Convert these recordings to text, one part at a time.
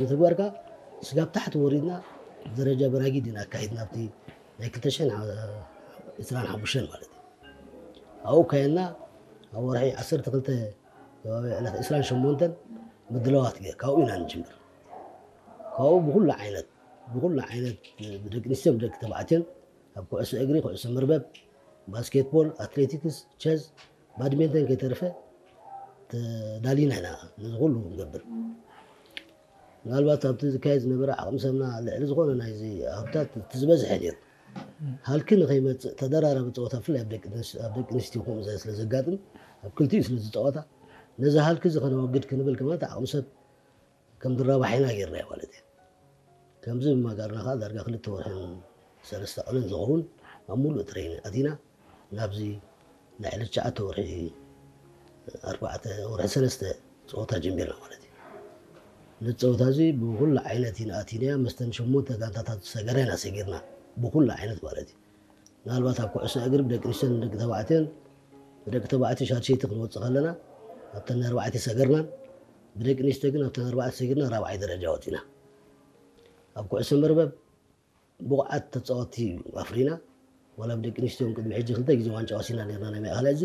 ምትግባርካ ስጋብ ታሕቲ ወሪድና ደረጃ በራጊድ ኢና ኣካይድና ኣብቲ ናይ ክልተ ሽሕን ዕስራን ሓሙሽተን ማለት እዩ። ኣብኡ ካየና ኣብ ወርሒ ዓሰርተ ክልተ ከባቢ ዕለት ዕስራን ሸሞንተን ምድላዋት ገይር ካብኡ ኢና ንጅምር። ካብኡ ብኩሉ ዓይነት ብኩሉ ዓይነት ብደቂ ኣንስትዮን ብደቂ ተባዕትዮን ኣብ ኩዕሶ እግሪ፣ ኩዕሶ መርበብ፣ ባስኬትቦል፣ ኣትሌቲክስ፣ ቸዝ፣ ባድሜንተን ከይተርፈ ተዳሊና ኢና ነዚ ኩሉ ንገብር። ምናልባት ኣብቲ ዝካየድ ዝነበረ ዓቕሚ ሰብና ልዕሊ ዝኾነ ናይዚ ሃብታት እቲ ዝበዝሐ ነይሩ። ሃልኪ ንኸይመፅእ ተደራራቢ ፀወታ ብፍላይ ኣብ ደቂ ኣንስ- ኣብ ደቂ ኣንስትዮ ከምኡ ዝበለ ስለ ዘጋጥም ኣብ ክልቲኡ ስለ ዝፀወታ ነዚ ሃልኪ እዚ ከነወግድ ክንብል ከማን እቲ ዓቕሚ ሰብ ከም ድራባሕ ኢና ጌርናዮ ማለት እዩ። ከምዚ ብምጋርና ከዓ ዳርጋ ክልተ ወርሕን ሰለስተ ቀንን ዝኸውን ኣብ ሙሉእ ትሬኒንግ ኣቲና ናብዚ ናይ ዕለት ትሽዓተ ወርሒ ኣርባዕተ ወርሒ ሰለስተ ፀወታ ጀሚርና ማለት እዩ። ነቲ ፀወታ እዚ ብኩሉ ዓይነት ኢና ኣቲናዮ። መስተን ሸሞንተ ጋንታታት ዝሰገራ ኢና ሰጊርና ብኩሉ ዓይነት ማለት እዩ። ምናልባት ኣብ ኩዕሶ እግሪ ብደቂ ኣንስትዮን ደቂ ተባዕትዮን ብደቂ ተባዕትዮ ሻድሸይቲ ክንወፅእ ከለና ኣብተን ኣርባዕተ ሰገርናን ብደቂ ኣንስትዮ ግን ኣብተን ኣርባዕተ ሰጊርና ራብዓይ ደረጃ ወፂና። ኣብ ኩዕሶ መርበብ ብቑዓት ተፃወትቲ ኣፍሪና። ዋላ ብደቂ ኣንስትዮ እውን ቅድሚ ሕጂ ክልተ ግዜ ዋንጫ ወሲድና ነርና ናይ ማእኸላይ እዚ።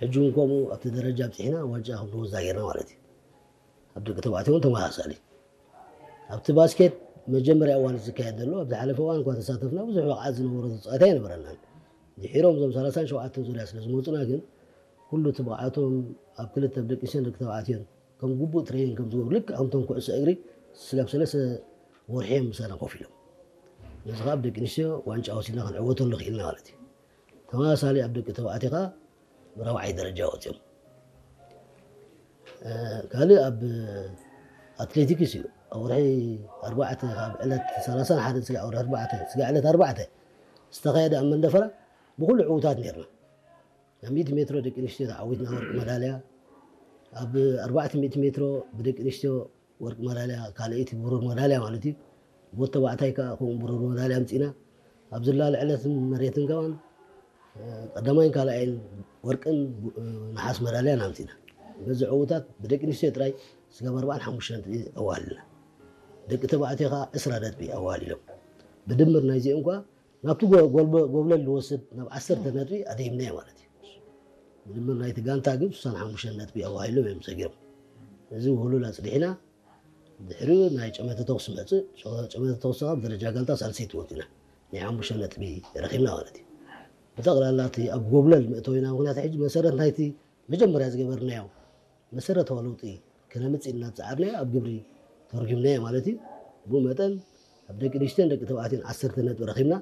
ሕጂ እውን ከምኡ ኣብቲ ደረጃ ኣብፂሕና ዋንጫ ክንወስዳ ጌርና ማለት እዩ። ኣብ ደቂ ተባዕትዮ እውን ተመሳሳሊ። ኣብቲ ባስኬት መጀመርያ እዋን ዝካየድ ዘሎ ኣብ ዝሓለፈ እዋን እኳ ተሳተፍና ብዙሕ ብቕዓት ዝነበሮ ተፃዋታይ ኣይነበረናን። ድሒሮም እዞም ሰላሳን ሸውዓተን ዙርያ ስለ ዝመፁና ግን ኩሉ እቲ ብቕዓቶም ኣብ ክልተ ብደቂ ኣንስትዮን ደቂ ተባዕትዮን ከም ግቡእ ትሬኒንግ ከም ዝገብሩ ልክዕ ከምቶም ኩዕሶ እግሪ ስጋብ ሰለስተ ወርሒ እዮም ምሳና ኮፍ ኢሎም። ነዚ ከዓ ብደቂ ኣንስትዮ ዋንጫ ወሲድና ክንዕወተሉ ክኢልና ማለት እዩ። ተመሳሳሊ ኣብ ደቂ ተባዕትዮ ከዓ ራብዓይ ደረጃ ወፂኦም። ካልእ ኣብ ኣትሌቲክስ እዩ። ኣብ ወርሒ ኣርባዕተ ካብ ዕለት ሰላሳን ሓደን ስጋዕ ወርሒ ኣርባዕተ ስጋዕ ዕለት ኣርባዕተ ዝተኻየደ ኣብ መንደፈራ ብኩሉ ዕዉታት ነርና። ኣብ ሚእቲ ሜትሮ ደቂ ኣንስትዮ ተዓዊትና ወርቂ መዳልያ፣ ኣብ ኣርባዕተ ሚእቲ ሜትሮ ብደቂ ኣንስትዮ ወርቂ መዳልያ ካልኣይቲ ብሩር መዳልያ ማለት እዩ። ብወዲ ተባዕታይ ከዓ ከምኡ ብሩር መዳልያ ኣምፂና። ኣብ ዝላለ ዕለትን መሬትን ከማን ቀዳማይን ካልኣይን ወርቅን ነሓስ መዳልያን ኣምፂና። በዚ ዕዉታት ብደቂ ኣንስትዮ ጥራይ ስጋብ ኣርባዓን ሓሙሽተን ነጥቢ ኣዋሃሊልና። ደቂ ተባዕትዮ ከዓ ዕስራ ነጥቢ ኣዋሃሊሎም። ብድምር ናይዚኦም ከዓ ናብቲ ጎ- ጎልበ- ጎብለል ዝወስድ ናብ ዓሰርተ ነጥቢ ኣደይምናዮ ማለት እዩ። ብድምር ናይቲ ጋንታ ግን ስሳን ሓሙሽተን ነጥቢ ኣዋሂሎም እዮም ሰጊሮም። እዚ ውህሉል ኣፅዲሕና ድሕሪኡ ናይ ጨመተ ተኩሲ መፅእ ጨመተ ተኩሲ ካብ ደረጃ ጋንታ ሳልሰይቲ ወፂና ናይ ሓሙሽተ ነጥቢ ረኪብና ማለት እዩ። ብጠቕላላ እቲ ኣብ ጎብለል መእተዊና ምክንያት ሕጂ መሰረት ናይቲ መጀመርያ ዝገበርናዮ መሰረታዊ ለውጢ ክነምፅእ ኢልና ዝፀዓርናዮ ኣብ ግብሪ ተርጉምናዮ ማለት እዩ። ብኡ መጠን ኣብ ደቂ ኣንስትዮን ደቂ ተባዕትዮን ዓሰርተ ነጥቢ ረኺብና፣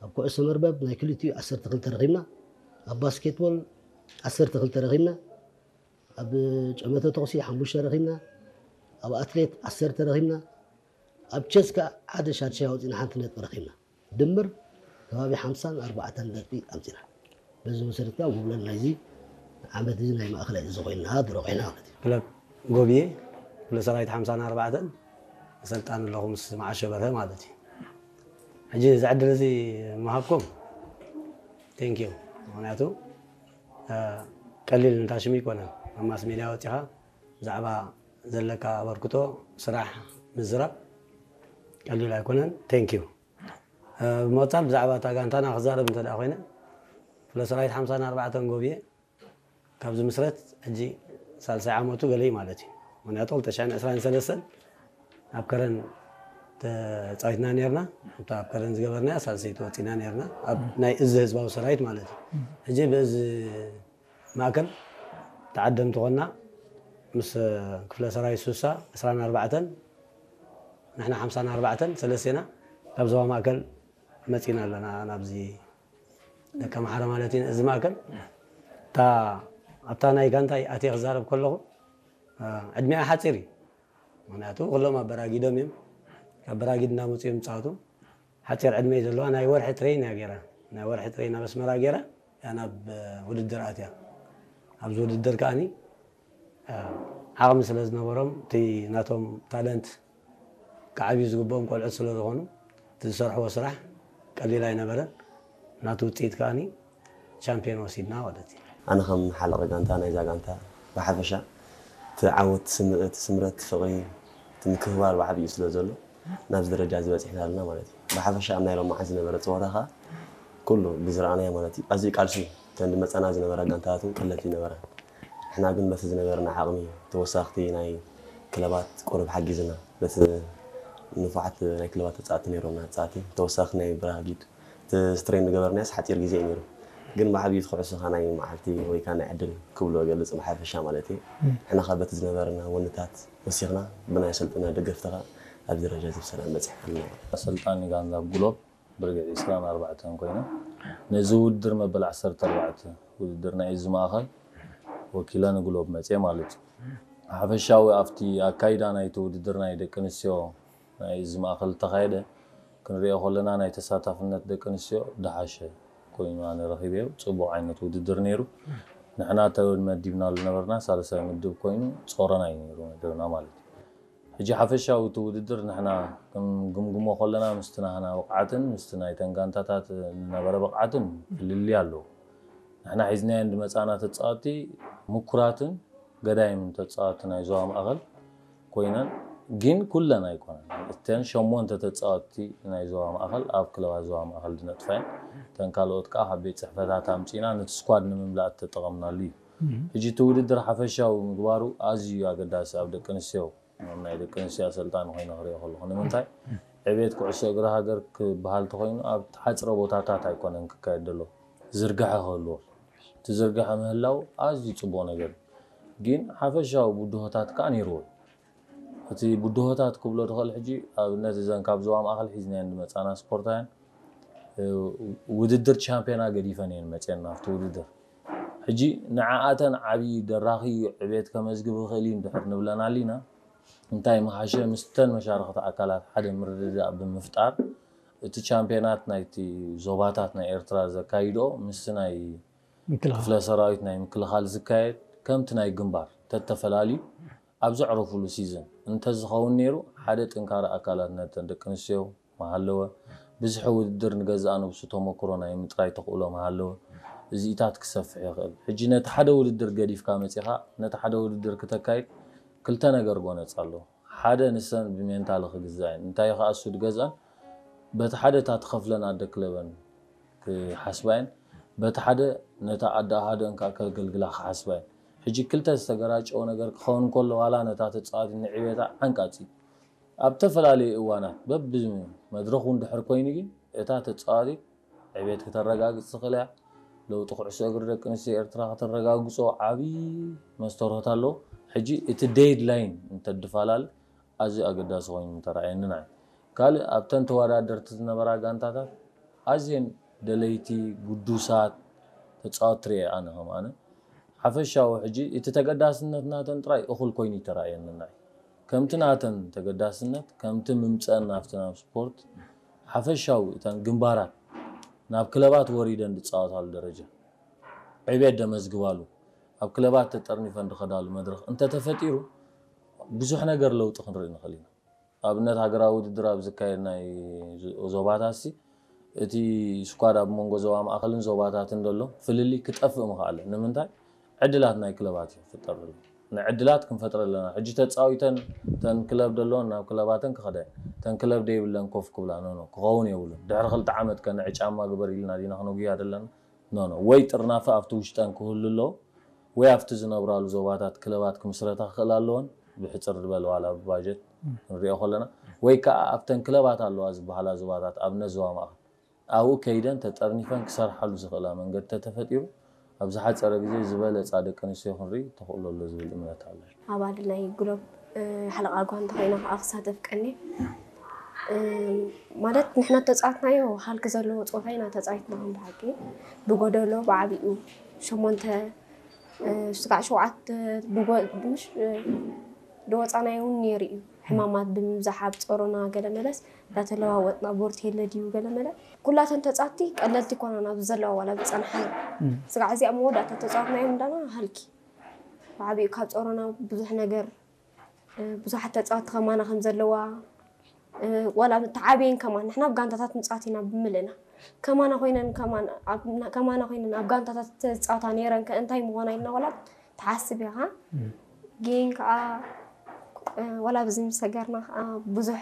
ኣብ ኩዕሶ መርበብ ናይ ክልቲኡ ዓሰርተ ክልተ ረኺብና፣ ኣብ ባስኬትቦል ዓሰርተ ክልተ ረኺብና፣ ኣብ ጨመተ ተኹሲ ሓሙሽተ ረኺብና፣ ኣብ ኣትሌት ዓሰርተ ረኺብና፣ ኣብ ቸስ ከዓ ሓደ ሻድሻይ ኣውፂና ሓንቲ ነጥቢ ረኺብና። ድምር ከባቢ ሓምሳን ኣርባዕተን ነጥቢ ኣምፂና። በዚ መሰረት ከዓ ጉብለል ናይዚ ዓመት እዚ ናይ ማእኸላይ እዚ ኮይና ድሮ ኮይና ማለት እዩ። ክለብ ጎብየ ክፍለ ሰራዊት ሓምሳን ኣርባዕተን ኣሰልጣኒ ኣለኹ ምስ መዓሾ በርሀ ማለት እዩ። ሕጂ እዚ ዕድል እዚ ምሃብኩም ቴንኪዩ። ምክንያቱ ቀሊል ንታሽም ይኮነን ኣብ ማስ ሜድያ ወፂኻ ብዛዕባ ዘለካ ኣበርክቶ ስራሕ ምዝራብ ቀሊል ኣይኮነን። ቴንኪዩ። ብምቕፃል ብዛዕባ እታ ጋንታና ክዛረብ እንተ ደኣ ኮይነ ክፍለ ሰራዊት ሓምሳን ኣርባዕተን ጎብየ ካብ ዝምስረት ሕጂ ሳልሳይ ዓመቱ ገለ እዩ ማለት እዩ። ምክንያቱ ክልተ ሽሕን ዕስራን ሰለስተን ኣብ ከረን ተፃዊትና ነርና። እታ ኣብ ከረን ዝገበርናያ ሳልሰይቲ ወፂና ነርና ኣብ ናይ እዚ ህዝባዊ ሰራዊት ማለት እዩ። ሕጂ ብእዚ ማእከል ተዓደምቲ ኮና ምስ ክፍለ ሰራዊት ሱሳ ዕስራን ኣርባዕተን ንሕና ሓምሳን ኣርባዕተን ሰለስቴና ካብ ዞባ ማእከል መፂና ኣለና ናብዚ ደቂ ኣምሓራ ማለት እዩ። እዚ ማእከል እታ ኣብታ ናይ ጋንታይ ኣትየ ክዛረብ ከለኹ ዕድሚኣ ሓፂር እዩ። ምክንያቱ ኩሎም ኣብ በራጊዶም እዮም ካብ በራጊድ እናመፁ እዮም ዝፃወቱ። ሓፂር ዕድመ እዩ ዘለዋ። ናይ ወርሒ ትሬን እያ ገይራ ናይ ወርሒ ትሬን ኣብ ኣስመራ ገይራ እያ ናብ ውድድር ኣትያ። ኣብዚ ውድድር ከዓኒ ዓቕሚ ስለ ዝነበሮም እቲ ናቶም ታለንት ክዓብዩ ዝግብኦም ቆልዑት ስለ ዝኾኑ እቲ ዝሰርሕዎ ስራሕ ቀሊል ኣይነበረን። ናቱ ውፅኢት ከዓኒ ቻምፒዮን ወሲድና ማለት እዩ። ኣነ ከም ሓለቐ ጋንታ ናይዛ ጋንታ ብሓፈሻ እቲ ዓወት እቲ ስምረት ፍቕሪ እቲ ምክብባር ብዓብዩ ስለ ዘሎ ናብዚ ደረጃ ዝበፂሕና ኣለና ማለት እዩ። ብሓፈሻ ኣብ ናይ ሎማዓንቲ ዝነበረ ፀወታ ከዓ ኩሉ ብዝረኣናዮ ማለት እዩ ኣዝዩ ቃልሲ እተን ዝመፃና ዝነበራ ጋንታታት እውን ቀለልቲ ይነበራ። ንሕና ግን በቲ ዝነበረና ዓቕሚ ተወሳኽቲ ናይ ክለባት ቁሩብ ሓጊዝና በቲ ንፉዓት ናይ ክለባት ተፃእቲ ነይሮምና ተፃእቲ ተወሳኺ ናይ ብራጊድ እቲ ስትሬን ዝገበርናዮስ ሓፂር ግዜ እዩ ነይሩ። ግን ብዓብዩ እቲ ኩዕሶ ኸዓ ናይ መዓልቲ ወይ ከዓ ናይ ዕድል ክብሎ እገልፅ ብሓፈሻ ማለት እዩ። ንሕና ኸዓ በቲ ዝነበረና ወንታት ወሲኽና ብናይ ኣሰልጠና ደገፍቲ ኸዓ ኣብዚ ደረጃ እዚ ብሰላም በፂሕና ኣለና። ኣሰልጣኒ ጋንታ ግሎብ ብርጌድ ዕስራን ኣርባዕተን ኮይና ነዚ ውድድር መበል ዓሰርተ ኣርባዕተ ውድድር ናይ እዚ ማእኸል ወኪለ ንግሎብ መፅየ ማለት እዩ። ሓፈሻዊ ኣብቲ ኣካይዳ ናይቲ ውድድር ናይ ደቂ ኣንስትዮ ናይ እዚ ማእኸል ዝተኻየደ ክንሪኦ ከለና ናይ ተሳታፍነት ደቂ ኣንስትዮ ድሓሸ ኮይኑ ኣነ ረኺበዮ። ፅቡቕ ዓይነት ውድድር ነይሩ። ንሕና ተመዲብናሉ ነበርና ሳልሳይ ምድብ ኮይኑ ጾረና እዩ ነይሩ መደብና ማለት እዩ። ሕጂ ሓፈሻዊ እቲ ውድድር ንሕና ክንግምግሞ ከለና ምስቲ ናህና ብቕዓትን ምስቲ ናይተን ጋንታታት ዝነበረ ብቕዓትን ፍልልይ ኣለዎ። ንሕና ሒዝናየን ዝመፃና ተፃወቲ ምኩራትን ገዳይም ተፃወቲ ናይ ዞባ ማእኸል ኮይነን ግን ኩለን ኣይኮነን። እተን ሸሞንተ ተፃወቲ ናይ ዞባ ማእኸል ኣብ ክለባት ዞባ ማእኸል ዝነጥፋ እየን። እተን ካልኦት ከዓ ካብ ቤት ፅሕፈታት ኣምፂና ነቲ ስኳድ ንምምላእ ተጠቐምናሉ እዩ። ሕጂ እቲ ውድድር ሓፈሻዊ ምግባሩ ኣዝዩ ኣገዳሲ ኣብ ደቂ ኣንስትዮ ናይ ደቂ ኣንስትዮ ኣሰልጣኒ ኮይነ ክሪኦ ከለኹ ንምንታይ ዕቤት ኩዕሶ እግሪ ሃገር ክበሃል ተኮይኑ ኣብ ተሓፅረ ቦታታት ኣይኮነን ክካየድ ዘሎ ዝርግሐ ክህልዎ እቲ ዝርግሐ ምህላው ኣዝዩ ፅቡቅ ነገር እዩ። ግን ሓፈሻዊ ብድሆታት ከዓ ነይርዎ እዩ። እቲ ብድሆታት ክብሎ ዝኽእል ሕጂ ኣብነት እዘን ካብ ዞባ ማእኸል ሒዝናየን ዝመፃና ስፖርታውያን ውድድር ቻምፒዮና ገዲፈን እየን መፅየን ናብቲ ውድድር ሕጂ ንዓኣተን ዓብዪ ደራኺ ዕቤት ከመዝግብ ይኽእል እዩ እንድሕር ንብለን ኣሊና እንታይ ምሓሸ ምስተን መሻርኽቲ ኣካላት ሓደ ምርድዳእ ብምፍጣር እቲ ቻምፒዮናት ናይቲ ዞባታት ናይ ኤርትራ ዘካይድኦ ምስቲ ናይ ክፍለ ሰራዊት ናይ ምክልኻል ዝካየድ ከምቲ ናይ ግንባር ተተፈላልዩ ኣብ ዘዕረፉሉ ሲዝን እንተዝኸውን ነይሩ ሓደ ጥንካረ ኣካላት ነተን ደቂ ኣንስትዮ ምሃለወ፣ ብዝሒ ውድድር ንገዛእ ነብሱ ተመክሮ ናይ ምጥራይ ተኽእሎ ምሃለወ፣ እዚኢታት ክሰፍሕ ይኽእል። ሕጂ ነቲ ሓደ ውድድር ገዲፍካ መጺኻ ነቲ ሓደ ውድድር ክተካይድ ክልተ ነገር ጎነጽ ኣሎ። ሓደ ንሰን ብሜንታሊ ክግዛእ እየን። እንታይ ከኣ እሱ ዝገዝአን በቲ ሓደ እታ ትኸፍለን ኣደ ክለበን ክሓስባ እየን። በቲ ሓደ ነታ ኣደ ኣሃደን ከኣ ከገልግላ ክሓስባ እየን። ሕጂ ክልተ ዝተገራጨወ ነገር ክኸውን ከሎ ዋላ ነታ ተጻዋቲት ንዕቤታ ዓንቃጺ ኣብ ተፈላለየ እዋናት በብመድረኹ እንድሕር ኮይኑ ግን እታ ተፃዋቲት ዕቤት ክተረጋግፅ ትኽእል እያ። ለውጢ ኩዕሶ እግሪ ደቂ ኣንስትዮ ኤርትራ ከተረጋግፆ ዓብዪ መስተርሆት ኣለዎ። ሕጂ እቲ ዴድላይን እንተድፋላል ኣዝዩ ኣገዳሲ ኮይኑ ምተረኣየኒ ንዓይ። ካልእ ኣብተን ተወዳደርቲ ዝነበራ ጋንታታት ኣዝየን ደለይቲ ግዱሳት ተፃወትቲ ርኤ ኣነ ከም ኣነ ሓፈሻዊ ሕጂ እቲ ተገዳስነት ናተን ጥራይ እኹል ኮይኑ ይተራእየኒ ናይ ከምቲ ናተን ተገዳስነት ከምቲ ምምፀአን ናብቲ ናብ ስፖርት ሓፈሻዊ እተን ግንባራት ናብ ክለባት ወሪደን ዝፃወታሉ ደረጃ ዕቤት ደመዝግባሉ ኣብ ክለባት ተጠርኒፈን ዝኸዳሉ መድረኽ እንተተፈጢሩ ብዙሕ ነገር ለውጢ ክንርኢ ንኽእል ኢና ኣብነት ሃገራዊ ውድድር ኣብ ዝካየድ ናይ ዞባታት ሲ እቲ ስኳድ ኣብ መንጎ ዞባ ማእኸልን ዞባታትን ዘሎ ፍልልይ ክጠፍእ ምኽኣለ ንምንታይ ዕድላት ናይ ክለባት እዩ ክፍጠር ዘሎ ንዕድላት ክንፈጥረ ኣለና ሕጂ ተፃዊተን ተን ክለብ ደለዎን ናብ ክለባተን ክኸዳ ተን ክለብ ደይብለን ኮፍ ክብላ ኖኖ ክኸውን የብሉን ድሕሪ ክልተ ዓመት ከ ንዒ ጫማ ግበር ኢልና ዲና ክነጉያ ዘለና ኖኖ ወይ ጥርናፈ ኣብቲ ውሽጠን ክህሉ ኣለዎ ወይ ኣብቲ ዝነብራሉ ዞባታት ክለባት ክምስረታ ክኽእል ኣለወን ብሕፅር ዝበለ ዋላ ብባጀት ክንሪኦ ከለና ወይ ከዓ ኣብተን ክለባት ኣለዋ ዝበሃላ ዞባታት ኣብነት ዞባ ማእኸል ኣብኡ ከይደን ተጠርኒፈን ክሰርሓሉ ዝኽእላ መንገዲ ተተፈጢሩ ኣብ ዝሓፀረ ግዜ ዝበለፃ ደቂ ኣንስትዮ ክንርኢ ተኽእሎ ኣሎ ዝብል እምነት ኣሎ። ኣባል ናይ ግሎብ ሓለቓ ጓንታ ኮይና ከዓ ክሳተፍ ቀንየ ማለት ንሕና ተፃወትናዮ ሃልኪ ዘለዎ ፀወታ ኢና ተፃዊትና ከም ብሓቂ ብጎደሎ ብዓብኡ ሸሞንተ ስጋዕ ሸውዓተ ዝወፃናዮ እውን ነይሩ እዩ ሕማማት ብምብዛሕ ኣብ ፀሮና ገለ መለስ እንዳተለዋወጥና ቦርት የለ ድዩ ገለ መለ ኩላተን ተፃወትቲ ቀለልቲ ይኮናን ኣብዚ ዘለዋ ዋላ ዝፀናሓ ስጋዕ እዚኣ መወዳእታ ተፃወትናዮም እንዳና ሃልኪ ብዓብኡ ካብ ፀሮና ብዙሕ ነገር ብዙሓት ተፃወቲ ከማና ከም ዘለዋ ዋላ ተዓብየን ከማን ንሕና ኣብ ጋንታታት ንፃወት ኢና ብምልእና ከማና ኮይነን ከማን ከማና ኮይነን ኣብ ጋንታታት ተፃወታ ነይረን ከ እንታይ ምኾና ኢልና ዋላ ትሓስብ ኢኻ ግን ከዓ ዋላ ብዚ ምስ ሰገርና ከዓ ብዙሕ